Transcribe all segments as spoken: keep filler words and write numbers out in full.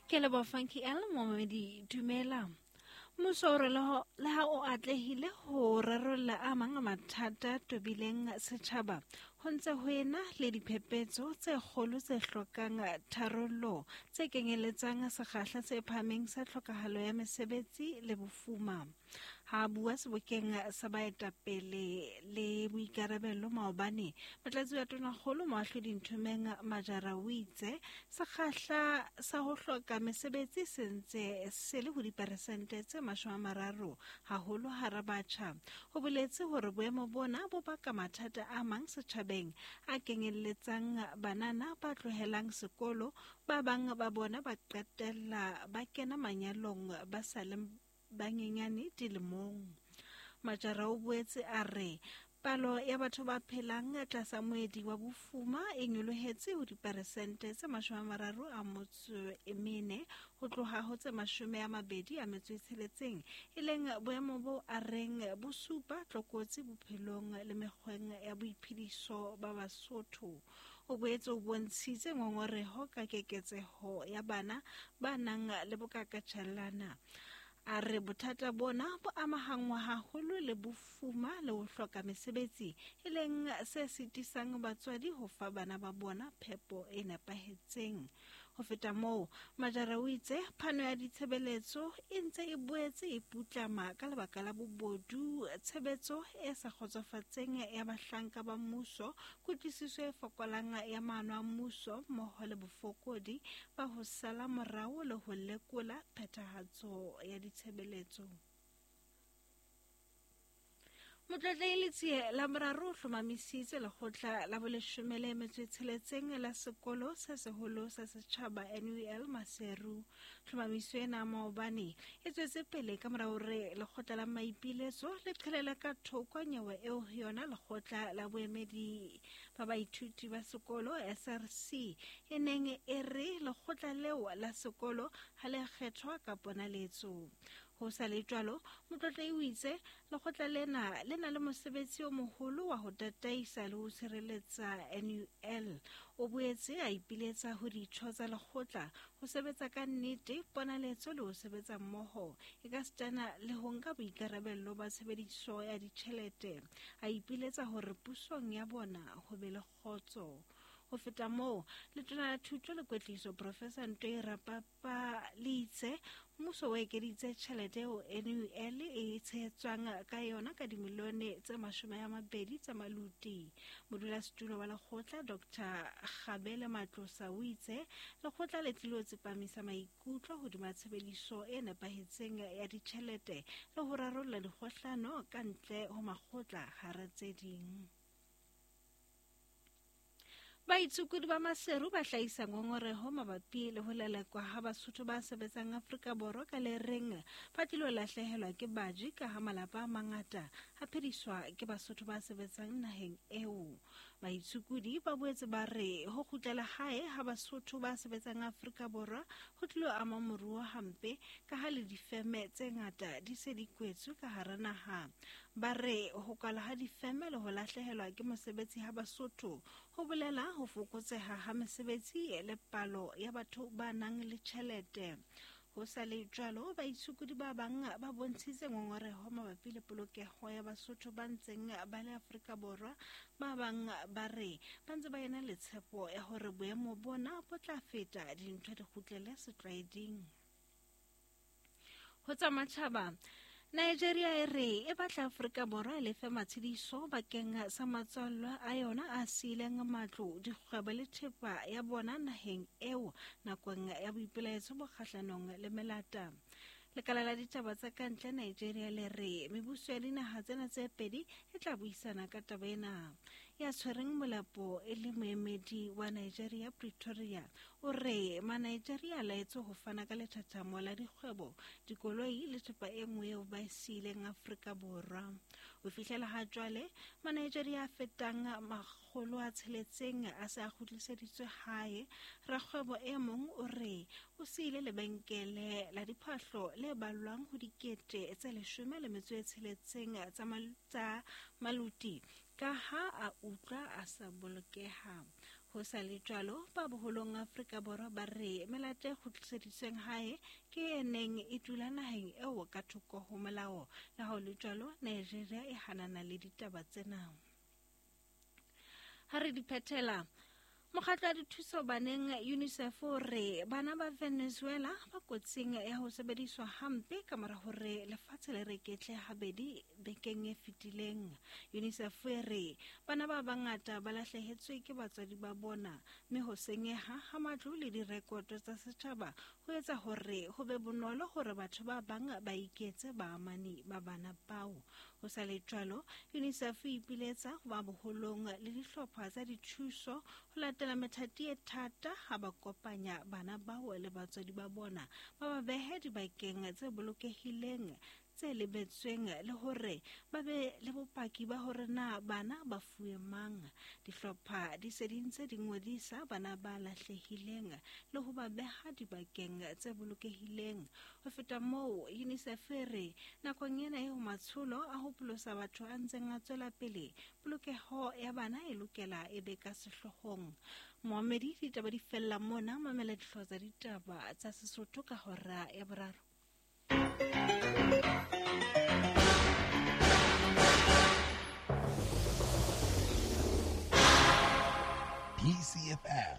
Ke leboha Funky L momedi dumela. Mmuso o re le ha o atlehile ho rarolla a mang a mathata tobileng setjhaba, ho ntse ho ena le diphephetso tse kgolo tse hlokang tharollo tse kenyeletsang sekgahla se phahameng sa tlhokahalo ya mesebetsi le bofuma. Ha bua sebokeng sa baetapele le boikarabelo maobane, motlatsi wa tonakgolo Moahlodi Nthomeng Majara o itse sekgahla sa ho hloka mesebetsi se ntse se le ho diperesente tse mashome a mararo, haholo hara batjha. Ho boletse hore boemo bona bo baka mathata a mang setjhabeng a kenyelletsang banana ba tlohelang sekolo, ba bang ba bona ba qetella ba kena manyalong ba sa le banyenyane dilemong. Majara o boetse a re palo ya batho ba phelang tlasa moedi wa bofuma e nyolohetse ho diperesente tse mashome a mararo a motso e mene ho tloha ho tse mashome a mabedi a metso e tsheletseng, e leng boemo bo a reng bo supa tlokotsi bophelong le mekgweng ya boiphediso ba Basotho. O boetse o bontshitse ngongoreho ka keketseho ya bana ba nang le bokakatjhellana. A re bothata bona bo amahangwa haholo le bofuma le ho hloka mesebetsi, e leng se sitisang batswadi ho fa bana ba bona phepo e nepahetseng. Ho feta moo, Majara o itse phano ya ditshebeletso e ntse e boetse e putlama ka lebaka la bobodu, tshebetso e sa kgotsofatseng ya bahlanka ba mmuso, kutlwisiso e fokolang ya maano a mmuso mmoho le bofokodi ba ho sala morao le ho lekola phethahatso ya ditshebeletso. Motlotlehi Letsie la boraro o hlomamisitse lekgotla la boleshome le metso e tsheletseng la sekolo se seholo sa setjhaba N U L Maseru. Tlhomamiso ena maobane e tswetse pele ka mora hore lekgotla la maipiletso le qhelele ka thoko nyewe eo yona lekgotla la boemedi ba baithuti ba sekolo S R C e neng e re lekgotla leo la sekolo ha le kgethwa ka ponaletso. Ho sa le jwalo, motlotlehi o itse lekgotla lena le na le mosebetsi o moholo wa ho tataisa le ho tshireletsa N U L. O boetse a ipiletsa ho ditho tsa lekgotla ho sebetsa ka nnete, ponaletso le ho sebetsa mmoho, e ka sitana le ho nka boikarabello ba tshebediso ya ditjhelete. A ipiletsa hore pusong ya bona ho be le kgotso. Ho feta moo, letona la thuto le kwetliso Professor Ntoi Rapapa le itse mmuso o ekeditse tjhelete eo N U L e tshehetswang ka yona ka dimilione tse mashome a mabedi tsa maluti. Modulasetulo wa lekgotla Doctor Kgabele Matlosa o itse lekgotla le tlilo tsepamisa maikutlo hodima tshebediso e nepahetseng ya ditjhelete le ho rarolla dikgohlano ka ntle ho makgotla hara tse ding. Baitsukudi ba Maseru ba hlahisa ngongoreho mabapi le ho lelekwa ha Basotho ba sebetsang Afrika Borwa ka le reng ba tlilo lahlehelwa ke baji ka ha malapa a mangata a phediswa ke Basotho ba sebetsang naheng eo. Baitsukudi ba boetse ba re ho kgutlela hae ha Basotho ba sebetsang Afrika Borwa ho tlilo ama moruo hampe ka ha le difeme tse ngata di se di kwetswe ka hara naha. Ba re ho kwalwa ha difeme le ho lahlehelwa ke mosebetsi ha Basotho ho bolela ho fokotseha ha mesebetsi le palo ya batho ba nang le tjhelete. Ho sa le jwalo, baitsukudi ba bang ba bontshitse ngongoreho mabapi le polokeho ya Basotho ba ntseng ba le Afrika Borwa. Ba bang ba re ba ntse ba ena le tshepo ya hore boemo bona bo tla feta dintho di kgutlele setlwaeding. Ho tsa matjhaba, Nigeria e re e batla Afrika Borwa e lefe matshediso bakeng sa matswallwa a yona a siileng matlo, dikgwebo le thepa ya bona naheng eo nakong ya boipelaetso bo kgahlanong le melata. Lekala la ditaba tsa kantle Nigeria le re mebuso ya dinaha tsena tse pedi e tla buisana ka taba ena. Ya tshwereng molapo e le moemedi wa Nigeria Pretoria o re ma-Nigeria a laetswe ho fana ka lethathamo la dikgwebo, dikoloi le thepa e nngwe eo ba e siileng Afrika Borwa. Ho fihlela ha jwale, ma-Nigeria a fetang makgolo a tsheletseng a se a kgutliseditswe hae. Rakgwebo e mong o re o siile lebenkele la diphahlo le ballwang ho dikete tse leshome le metso e tsheletseng tsa maluti ka ha a utlwa a sa bolokeha. Ho sa le jwalo, ba boholong Afrika Borwa ba re melato e kgutliseditsweng hae ke e neng e dula naheng eo ka thoko ho molao. Le ha ho le jwalo, Nigeria e hanana le ditaba tsena. Ha re di phethela, mokgatlo wa dithuso baneng UNICEF o re bana ba Venezuela ba kotsing ya ho sebediswa hampe ka mora hore lefatshe le reketle habedi bekeng e fetileng. UNICEF e re bana ba bangata ba lahlehetswe ke batswadi ba bona, mme ho senyeha ha matlo le direkoto tsa setjhaba ho etsa hore ho be bonolo hore batho ba bang ba iketse baamani ba bana bao. Ho sa le jwalo, UNICEF e ipiletsa ho ba boholong le dihlopha tsa dithuso ho latela methati e thata ha ba kopanya bana bao le batswadi ba bona, ba ba behe dibakeng tse bolokehileng tse lebetsweng le hore ba be le bopaki ba hore na bana ba fuwe mang. Dihlopha di se di ntse di ngodisa bana ba lahlehileng le ho ba beha dibakeng tse bolokehileng. Ho feta moo, UNICEF e re nakong ena eo matsholo a ho pholosa batho a ntseng a tswela pele, polokeho ya bana e lokela e be ka sehloohong. Moamedi, ditaba di fella mona, mamela dihlooho tsa ditaba tsa Sesotho ka hora ya boraro. B C F M,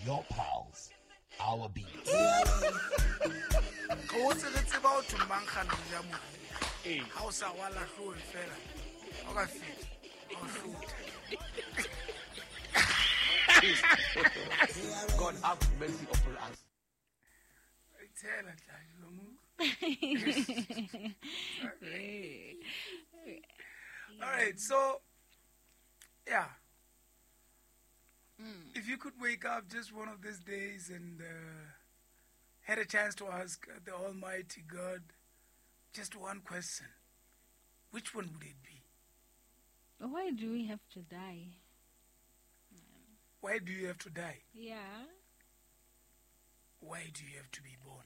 your pulse, our beat. Go tse re tseba o thomang gana ja mo. Ha o sa wa lahloe fela. O ka feta. O hlotha. God have mercy upon us. Tell tla mo. All right, so yeah. Mm. If you could wake up just one of these days and uh, had a chance to ask the Almighty God just one question, which one would it be? Why do we have to die? Why do you have to die? Yeah. Why do you have to be born?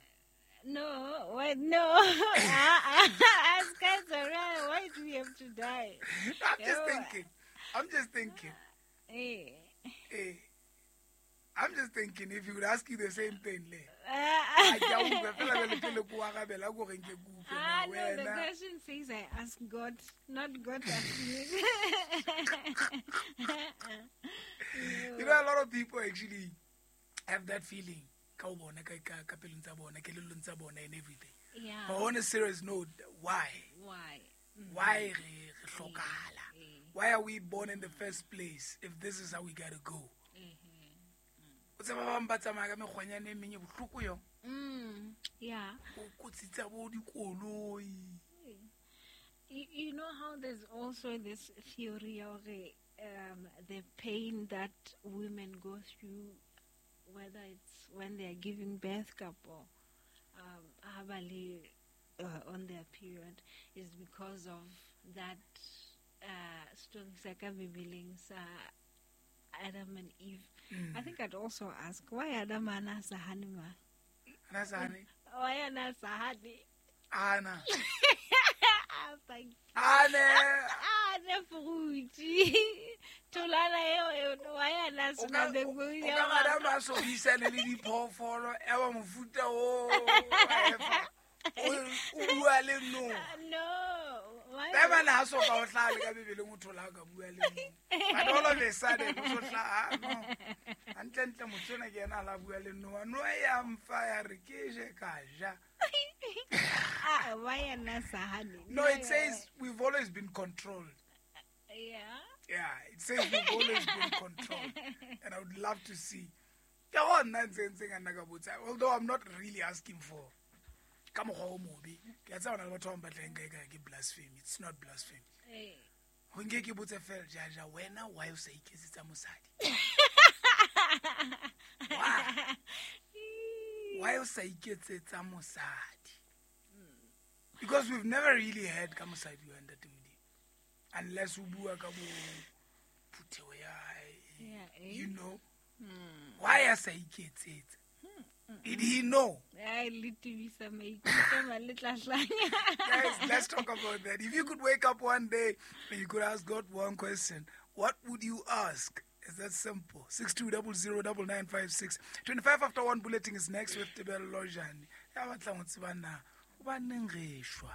No, why no? Ask us around, why do we have to die? I'm just thinking. I'm just thinking. Hey. Hey. I'm just thinking if he would ask you the same thing, le. Ah, no, the question says I ask God, not God ask me. You know, a lot of people actually have that feeling. And everything. Yeah. But on a serious note, why? Why? Mm-hmm. Why Why are we born in the first place if this is how we gotta go? Mm, yeah. You, you know how there's also this theory of um, the pain that women go through, whether it's when they are giving birth couple, um, uh, on their period, is because of that uh, story sa Bibeleng sa Adam and Eve. Mm. I think I'd also ask why Adam ana sa hane ma? Ana sa hane? Why ana sa hane? Ana. Thank you. Ane. Ane fruit. Tholana eo why ana sena O ka Adam a so buisane le diphoofolo e ba mofuta o o bua le no. No. Why? Ba na so ka o hlale ka Bibeleng o thola ka bua le no. But all of a sudden o so hla no. Hantle ntle motho ena ke yena la bua le no. No ya mfa ya re ke je ka ja. Ah, why ana sa hane? No, it says we've always been controlled. Yeah. Yeah, it says we've always been controlled. And I would love to see. Although I'm not really asking for ka mokgwa o mobe. Ke a tseba hona le batho ba bang ba tla nka ekare ke blasphemy. It's not blasphemy. Ho nke ke botse fela, Jaja, wena why o sa iketsetsa mosadi? Why? Why o sa iketsetsa mosadi? Because we've never really heard ka mosadi wa Ntate Modimo. Unless o bua ka bo phutheo ya hae. Yeah, eh? You know? Hmm. Why a sa iketsetsa? Did he know? Guys, let's talk about that. If you could wake up one day and you could ask God one question, what would you ask? It's that simple. Six two double zero double nine five six. Twenty five after one bulletin is next with Tebello Jane. Ya batlang ho tseba na hobaneng re shwa